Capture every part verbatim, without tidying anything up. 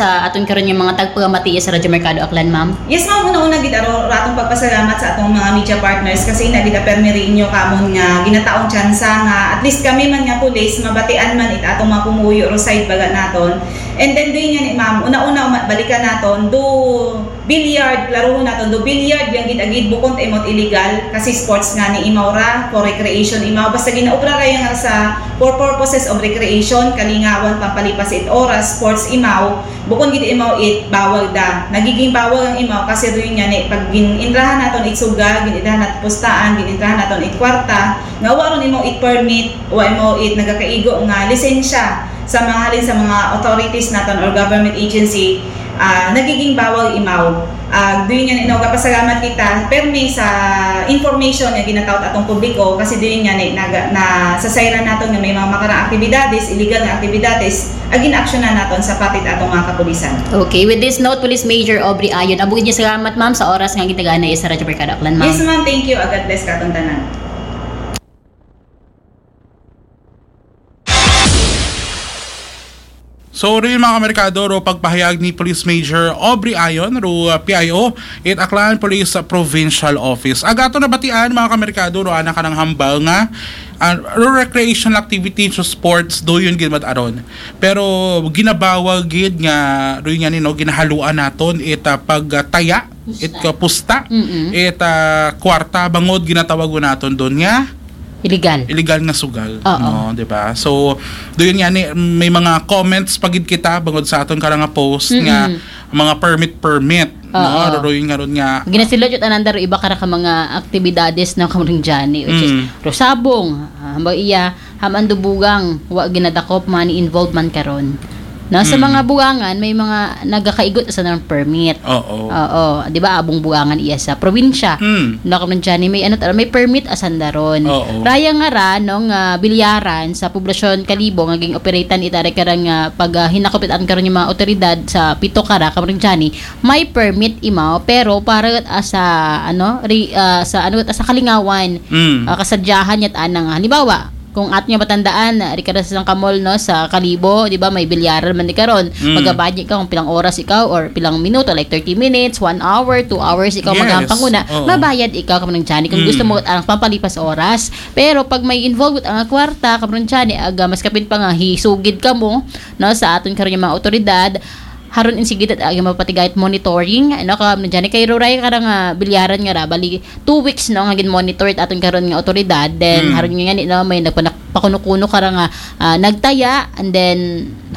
sa aton karon nga mga tagpagamati sa Radyo Merkado Aklan, ma'am? Yes, ma'am. Una-una gid aro ra atong pagpasalamat sa atong mga media partners kasi ina gid permi rin inyo kamon nga ginataong tsansa nga at least kami man nga pulis mabatian man it atong mga pumuyo ro side baga naton. And then doon nga ni ma'am, una-una uma- balikan naton do billiard, klarohon naton do billiard yang gid agid bukon ta imot illegal kasi sports nga ni imaw ra for recreation imaw basta ginaobra ra yang sa for purposes of recreation, kalingawan, pampalipas it oras, sports imaw, bukon gid imaw it bawal da. Nagiging bawal ang imaw kasi doon nga ni pag gin-intrahan naton it sugal, gin-intrahan naton pustaan, gin-intrahan naton it kwarta, nga wa ron imaw it permit, wa imaw it nagakaigo nga lisensya sa mga halin sa mga authorities naton or government agency, ah, nagiging bawal imaw. Ah, doon nga ni no, kapasalamat kita permi sa information nga ginatawag atong publiko kasi doon nga ni naga, na sa sayran naton nga may mga makarang aktibidades, illegal nga aktibidades, agin aksyonan naton sa patit atong mga kapulisan. Okay, with this note, Police Major Aubrey Ayon, abugid niya salamat, ma'am, sa oras nga gitagana sa Radyo Merkado Aklan, ma'am. Yes, ma'am. Thank you. God bless katon tanan. So, rin mga kamerkado, ro pagpahayag ni Police Major Aubrey Ayon, ro uh, P I O, it Aklan Police Provincial Office. Agato na batian, mga kamerkado, ro anak ka ng hambal nga uh, ro recreational activity sa sports, do yun gid aron. Pero ginabawal gid nga, ro yun nga nino, ginahaluan naton it uh, pagtaya, it uh, pusta, Mm-mm. it uh, kwarta, bangod ginatawag naton doon nga Illegal. illegal nga sugal, Oo. no, 'di ba? So, do yun nga ni may mga comments pagid kita bangod sa aton karang nga post nga Mm-mm. mga permit permit, no? Oo. Ro yun nga ron nga Ginasilot yung ananda ro iba kara ka mga aktibidades na kamring Johnny, which is Mm. ro sabong, ah, hambang iya, haman do bugang, wa ginadakop, money involved man karon. Na sa Mm. mga bugangan, may mga nagakaigot sa ng permit. Oo. Oo, 'di ba? Abong bugangan iya sa probinsya. Mm. No, kamring Johnny, may ano tara, may permit asandaron. Oo. Raya nga ra nung ah, bilyaran sa poblasyon Kalibo nga ging-operatan itare karang ah, pag ah, hinakop itan karon yung mga otoridad sa pito kara kamring Johnny, may permit imaw pero para asa ano ri, ah, sa ano asa kalingawan. Mm. Ah, kasadyahan yat anang halimbawa kung at niya matandaan, ah, ri kada sa isang kamol no sa Kalibo, 'di ba, may bilyaran man di karon. Mm. Magabudget ka kung pilang oras ikaw or pilang minuto, like thirty minutes, one hour, two hours ikaw Yes. magampang una, Oo. mabayad ikaw kamring Johnny kung Mm. gusto mo ang pampalipas oras. Pero pag may involved ang kwarta kamring Johnny, aga mas kapin pa nga hisugid ka mo no sa aton karon nga mga otoridad, haron in sige dat agi mapatigayt monitoring, ano ka na dyan kay ruray ka nga bilyaran nga ra bali two weeks no nga gin-monitor it aton karon nga otoridad, then Mm. haron nga ni no may nagpanak pakuno-kuno ka ra nga ah, nagtaya, and then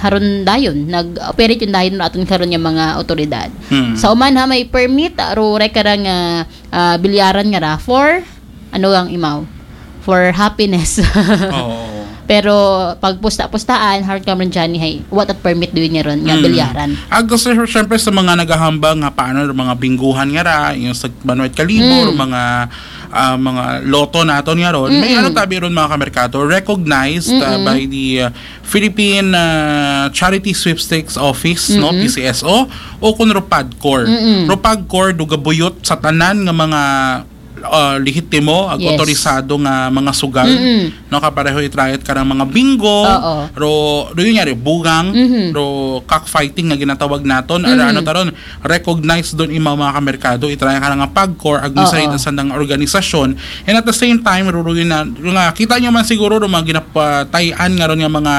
haron dayon nag-operate yung dayon aton karon nga mga otoridad. Mm. Sa uman ha may permit ruray ka ra nga ah, bilyaran nga ra for ano ang imaw for happiness. Oo. Pero pag pusta-pustaan, hard ka man dyan, hey, what at permit do yun nga ron, nga Mm. bilyaran. Ag gusto syempre sa mga naghahambal nga paano yung mga bingguhan nga ra, yung sa Manuel Calibo, Mm. yung mga ah, mga lotto naton nga ron, may Mm-mm. ano tabi ron mga kamerkado, recognized ah, Mm-mm. by the ah, Philippine ah, Charity Sweepstakes Office, no, Mm-mm. P C S O, o kun Ropagcor. Mm-mm. Ropagcor, do gabuyot sa tanan nga mga ah, lehitimo, ag Yes. otorisado nga mga sugal. Mm-mm. No, kapareho itrayat ka ng mga bingo, Oo. ro, ro yun nga, ro bugang, Mhm. ro cockfighting nga ginatawag naton, Mhm. ara ano taron, recognized doon imaw mga kamerkado, itrayat ka nga pagkor, ag Oo. misayid ang sandang organisasyon. And at the same time, ro, ro yun na, ro nga, kita nyo man siguro, ro mga ginapatayan nga ron nga mga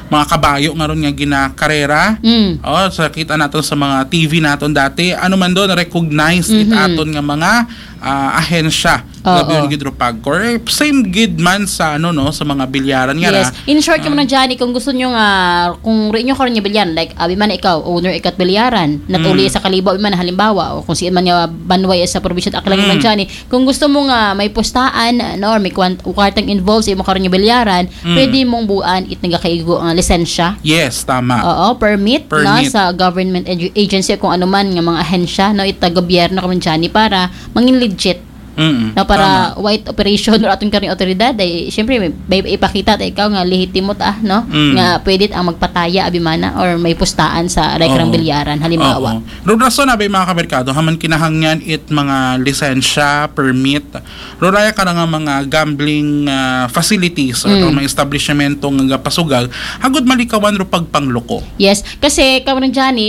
mga kabayo nga ron nga ginakarera. Mm. Oh, sa kita naton sa mga T V naton dati, ano man doon, recognized it Mhm. aton nga mga ah, ahensya. Oo. Labi yun gid ro pagkor. Eh, same gid man sa ano no, sa mga bilyaran nga ra. Yes. In short, Ah. Kamang Johnny, kung gusto nyo nga, kung rin nyo karon nga bilyaran, like, abi man ikaw, owner ikat bilyaran, not Mm. only sa Kalibo, abi man halimbawa, o kung saan man nga banway sa probinsya at Aklan, Mm. Kamang Johnny, kung gusto mo nga may pustahan, no, or may kwan- kwartang involved sa imo karon nga bilyaran, Mm. pwede mong buan it nagakaigo nga lisensya. Yes, tama. Oo, permit, Permit. no, sa government edu- agency o kung ano man nga mga ahensya, no, ita gobyerno, Kamang Johnny, para mangin legit. Mm-mm. No, para Tama. white operation or atong karing otoridad ay siyempre may, may ipakita ta ikaw nga lehitimo ta, no, Mm. nga pwede ang magpataya abi man na or may pustaan sa rekrang Oo. bilyaran halimbawa. Oo. Ro rason abi mga kamerkado, haman kinahanglan it mga lisensya, permit, ro raya ka nga mga gambling ah, facilities or Mm. mga establishmento nga gapasugal, agud malikawan ro pagpangloko. Yes, kasi Kamang Johnny,